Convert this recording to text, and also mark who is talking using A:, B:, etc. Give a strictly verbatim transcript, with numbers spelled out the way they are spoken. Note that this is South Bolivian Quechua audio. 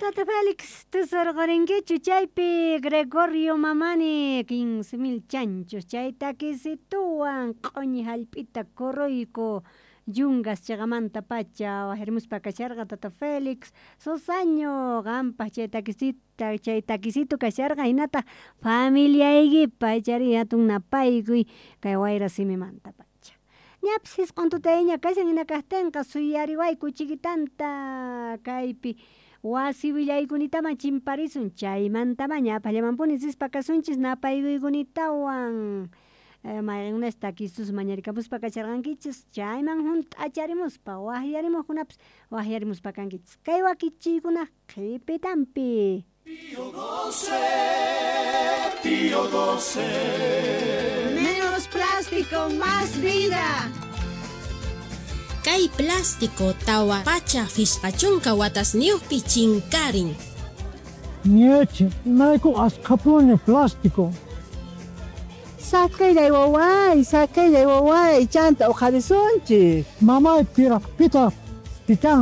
A: Tata Félix, tusurqorinkichu chaypi Gregorio Mamani quince mil chanchos chay takisituwan q'oñi hallp'ita Coroico yungas cheqamanta pacha wajarimuspa kasharqa tata Félix Sosaño qampaq chay takisita chay takisitu kasharqa hinataq familiaykipa ichari hatun napaykuy kay wayra simimanta pacha. Ñapis hisq'on tutayña kashan hina kaqtinqa suyariwayku chiquitanta kaypi wasi willaykunitaman chimparisun chaymantama ñapaqllamanpuni rispa kasunchis napaykuykunatawan mayqinkunas takistus mañarikamuspa kasharqankichis chayman hunt'acharimuspa waqyarimuqkunapis waqyarimuspa kankichis kay wakichiykunaq qhipitanpi.
B: Pío doce, Pío doce.
C: Menos plástico, más vida.
D: Kay plástico tawa pacha phishqa watasniyuqpi chinkarin.
E: Ñeche, imarayku askhapuni plástico.
F: Saqellay waway, saqellay waway, chanta uqharisunchik.
E: Mamay, piraq pitaq pichan.